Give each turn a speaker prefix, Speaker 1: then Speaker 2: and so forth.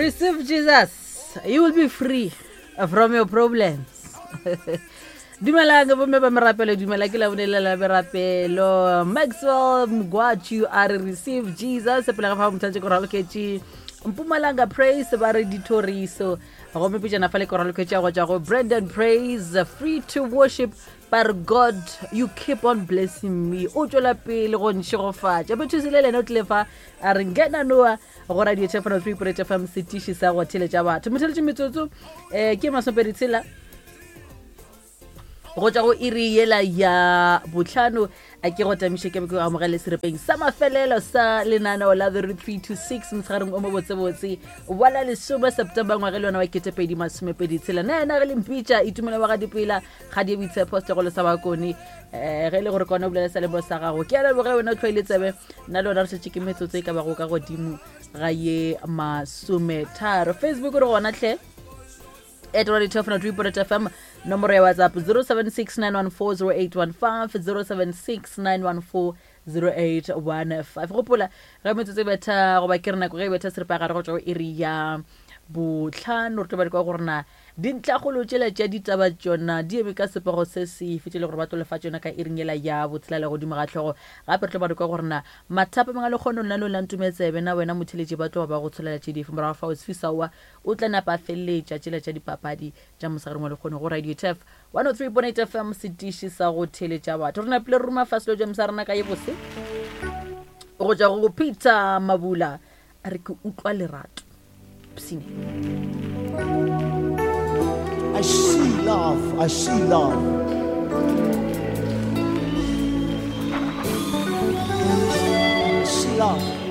Speaker 1: Receive Jesus, you will be free from your problems. Dumelang bomme ba merapelo, dumela ke labone la merapelo. Maxwell Mgwachu a re receive Jesus, pele ga fa mothatse ko raloketše Mpumalanga Praise ba re dithoriso. Gomme pejana fa le ko raloketše go tšwa go Brandon Praise, free to worship but God you keep on blessing me. O tšwela pele go nšegofatša. Bethusile le ena o tlile fa a re ngena noa go radio tšhefano 3.8 fm setiši sa go theletša batho motheletše metsotso um ke masomepedi tshela go tšwa go iri yela ya botlhano a ke go tamiše ke be ke amogele serepeng sa mafelelo sa lenaneo la the 3 to 6 motshegareng o mo botsebotse wa la lesome september ngwage le yona wa ketepedi masomepedi tshela na ena ge le mpitša itumela wa ga dipela ga di boitshepo setlogolo sa bakone um ge e le gore kone o bolela sa lebo sa gago ke a leboge wena o tlhoile tsebe nna le wena re šetše ke metsotso e ka bago ka godimo ga ye masometharo. Facebook re gona tlhe at radio tefno 3 fm, nomoro ya WhatsApp 0769140815, 0769140815. Gopola ge metsotso e betha goba ke re nako ge e betha seripagare go tšwa go iri ya botlhano, re tlo ba di kwa gore na Dintlhakgolo tšela tša ditaba tšona di eme ka sepego se sefe tše le gore ba tlo lefa tšona ka iring yela ya botshelela godimo ga hlogo. Gape re tlo ba re kwa gore na mathapameng a lekgono lena la Ntumetsebe na wena motheeletši ba tloga ba go tsholela tše dife. Morago fao Sfisaoa o tla napa a feleletša tšela tša dipapadi tša mosegareng wa lekgono go Radio Turf 103.8 FM setiši sa go theeletša batho. Re napile re ruma fase lo sa rena ka ye bose go tšwa go Peter Mabula a re ke utlwa lerato psine.
Speaker 2: I see love, I see love. I see love.